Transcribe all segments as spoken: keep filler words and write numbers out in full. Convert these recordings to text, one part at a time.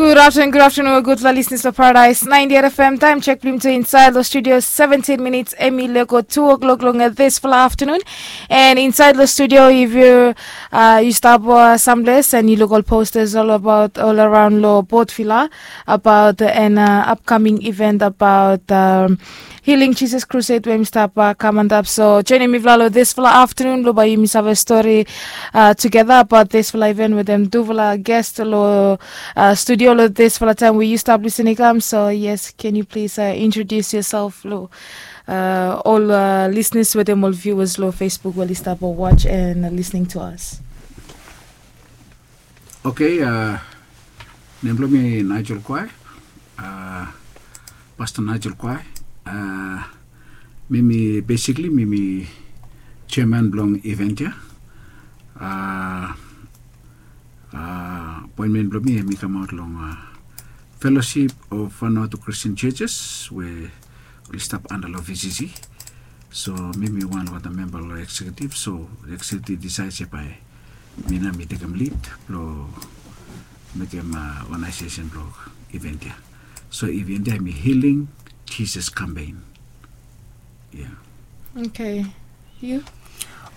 Good afternoon, good afternoon, gudfala listeners lo Paradise ninety-eight F M. Time check blong yumi tu insaed lo studio, seventeen minutes hemi lego two o'clock long disfala afternoon. And insaed lo studio, if yu uh, yu stap uh, samples and yu luk ol posters ol abaot ol araon lo Port Vila abaot an uh, upcoming event abaot um, Healing Jesus Crusade we hemi stap uh, kam antap. So joining mifala lo disfala afternoon blo bae yumi save stori uh, tugeta abaot disfala event wetem tufala guest lo uh, studio lo disfala taem we yu stap listening kam. So yes, can you please uh, introduce yourself lo uh, ol uh, listeners wetem ol viewers lo Facebook we oli stap uh, watch and uh, listening to us. Okay, uh, nem blong mi Nigel Kwai, uh, Pastor Nigel Kwai. Uh, mi mi basically mi mi chairman blong event ya. Uh, uh, appointment blong mi hemi kamaot long uh, Fellowship of Vanuatu Christian Churches we oli stap anda lo V C C. So mi mi wan lo wan memba lo executive, so executive decide se bae mi nao mi tekem lead blo mekem uh, organization blo event ya. So event ya hemi Healing Jesus Campaign. Yeah. Okay. You?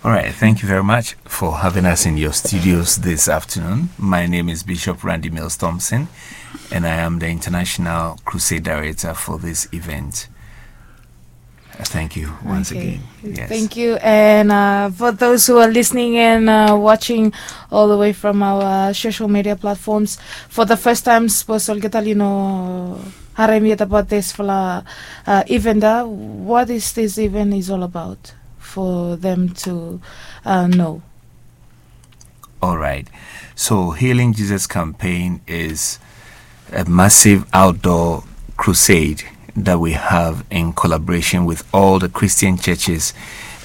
All right, thank you very much for having us in your studios this afternoon. My name is Bishop Randy Mills Thompson, and I am the International Crusade Director for this event. Thank you once okay. again. Yes. Thank you. And uh, for those who are listening and uh, watching all the way from our social media platforms, for the first time, suppose olgeta oli no harem yet about this fala uh, event, uh, what is this event is all about for them to uh, know? All right. So, Healing Jesus Campaign is a massive outdoor crusade that we have in collaboration with all the Christian churches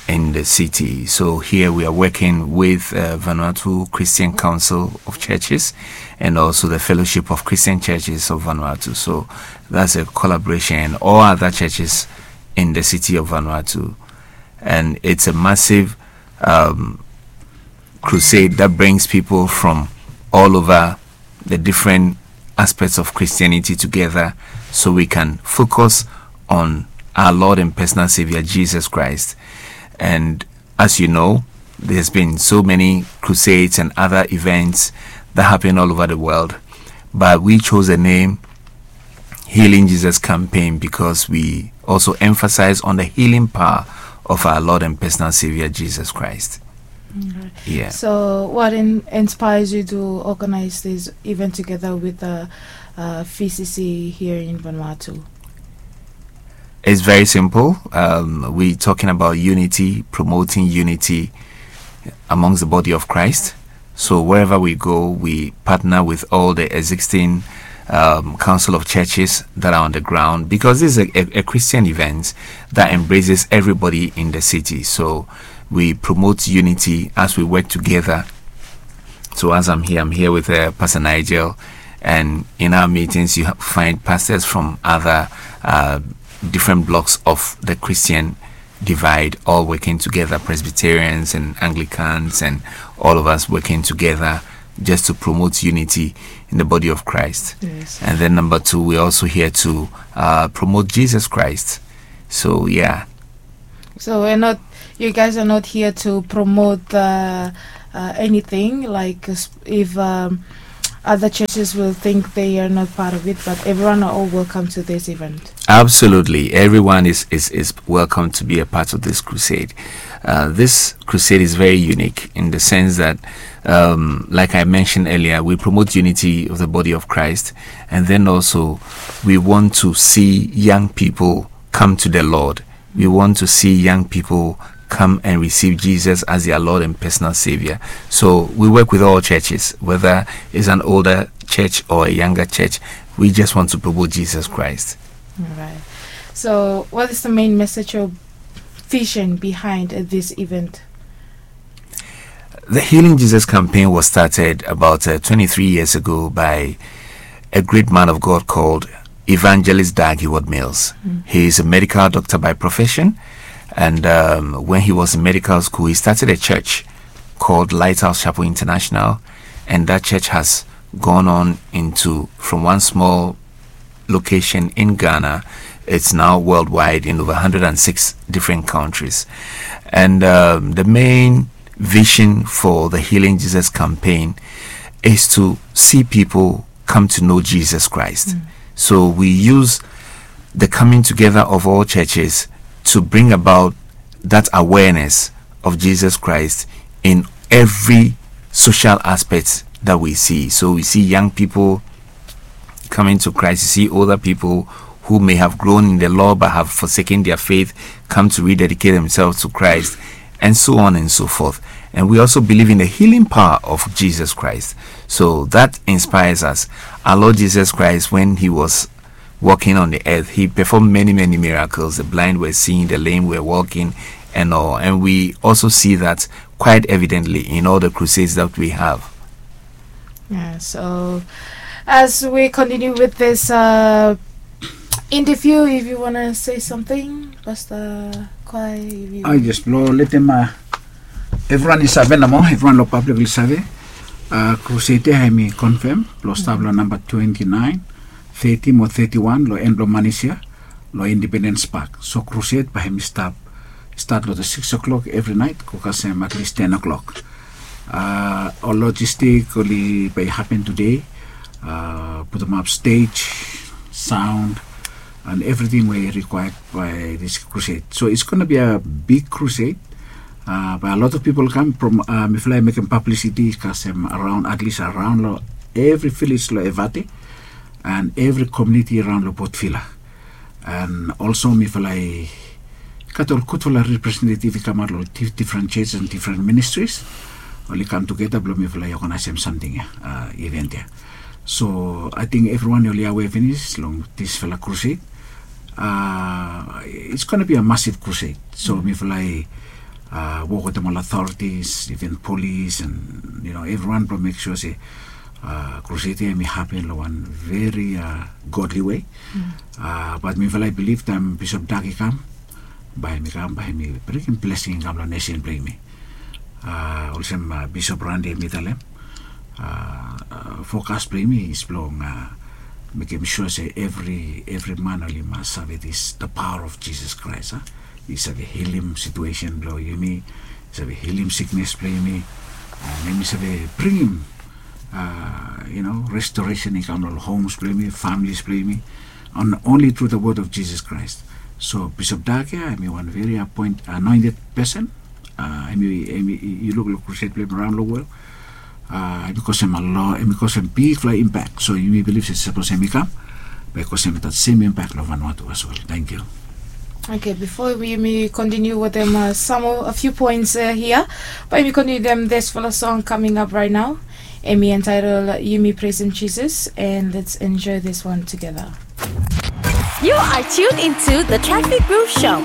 in the city. So, here we are working with uh, Vanuatu Christian Council of Churches and also the Fellowship of Christian Churches of Vanuatu. So, that's a collaboration and all other churches in the city of Vanuatu. And it's a massive um, crusade that brings people from all over the different aspects of Christianity together so we can focus on our Lord and personal Savior Jesus Christ. And as you know, there's been so many crusades and other events that happen all over the world, but we chose the name Healing Jesus Campaign because we also emphasize on the healing power of our Lord and personal Savior Jesus Christ. Okay. Yeah. So, what in, inspires you to organize this event together with the uh, V C C here in Vanuatu? It's very simple. Um, we're talking about unity, promoting unity amongst the body of Christ. So wherever we go, we partner with all the existing um, council of churches that are on the ground, because this is a, a, a Christian event that embraces everybody in the city. So we promote unity as we work together. So as I'm here, I'm here with uh, Pastor Nigel, and in our meetings, you ha- find pastors from other uh, different blocks of the Christian divide, all working together, Presbyterians and Anglicans, and all of us working together just to promote unity in the body of Christ. Yes. And then number two, we're also here to uh, promote Jesus Christ. So, yeah. So we're not, you guys are not here to promote uh, uh, anything, like, uh, if um, other churches will think they are not part of it, but everyone are all welcome to this event. Absolutely. Everyone is, is, is welcome to be a part of this crusade. Uh, this crusade is very unique in the sense that, um, like I mentioned earlier, we promote unity of the body of Christ, and then also we want to see young people come to the Lord. We want to see young people come and receive Jesus as their Lord and personal Savior. So we work with all churches, whether it's an older church or a younger church. We just want to promote Jesus Christ. All right. So, what is the main message or vision behind uh, this event? The Healing Jesus campaign was started about uh, twenty-three years ago by a great man of God called Evangelist Dag Heward Mills. He is a medical doctor by profession, and um, when he was in medical school, he started a church called Lighthouse Chapel International, and that church has gone on into from one small location in Ghana. It's now worldwide in over one hundred six different countries. And um, the main vision for the Healing Jesus campaign is to see people come to know Jesus Christ. So we use the coming together of all churches to bring about that awareness of Jesus Christ in every social aspect that we see. So we see young people coming to Christ, you see older people who may have grown in the law but have forsaken their faith come to rededicate themselves to Christ, and so on and so forth. And we also believe in the healing power of Jesus Christ. So that inspires us. Our Lord Jesus Christ, when he was walking on the earth, he performed many, many miracles. The blind were seeing, the lame were walking, and all. And we also see that quite evidently in all the crusades that we have. Yeah, so as we continue with this uh, interview, if you want to say something, Pastor Kwai, if you... Ai, jes blong letem uh, evriwan i save nomo, evriwan long pablik oli save. Uh, crusade ya hemi confirm blong stap long namba twenty nine, thirty mo thirty one long en blong manis ya long Independence Park. So crusade bae hemi stap stat long the six o'clock evri nait go kasem at least ten o'clock. Uh, ol logistik oli bae hapen today, uh, putum ap stage, sound, and everything we required by this crusade. So it's gonna be a big crusade. Uh, by a lot of people come from uh, mifala i mekem publicity kasem around, at least around lo every village lo Evate and every community around lo Port Vila. And also mifala i gat ol gudfala representative i kamaot long different churches and different ministries. Oli kam tugeta blong mifala i organizem samting ya, uh, event ya. So I think everyone oli aware finis long disfala crusade. Uh, it's gonna be a massive crusade. So mifala i uh, work with them all authorities, even police, and you know everyone to make sure say uh, crusade ya hemi happen long wan very uh, godly way. Uh, but mifala i believe taem Bishop Dag i kam, bae hemi kam, bae hemi bringim blessing i kam long nation blong yumi. Uh, olsem uh, Bishop Rande hemi talem, uh, uh, focus blong yumi is blong uh, mekem sure say every every man oli mas save this the power of Jesus Christ. Uh. I save healim situation blong yumi, i save healim sickness blong yumi, and hemi save bringim uh, you know, restoration i kam long homes blong yumi, families blong yumi, on only through the word of Jesus Christ. So Bishop Dag ya hemi wan very appoint, anointed person. Uh, hemi, hemi, yu luk long crusade blong yumi around long world. Uh, hemi kosem a lot, hemi kosem bigfala impact. So yumi believe say sapos hemi kam, bae kosem that same impact long Vanuatu as well. Thank you. Okay, before we, we continue with them, uh, some of a few points uh, here, but we continue them this for a song coming up right now. Emi entitled Yumi Praising Jesus, and let's enjoy this one together. You are tuned into the Traffic Groove Show.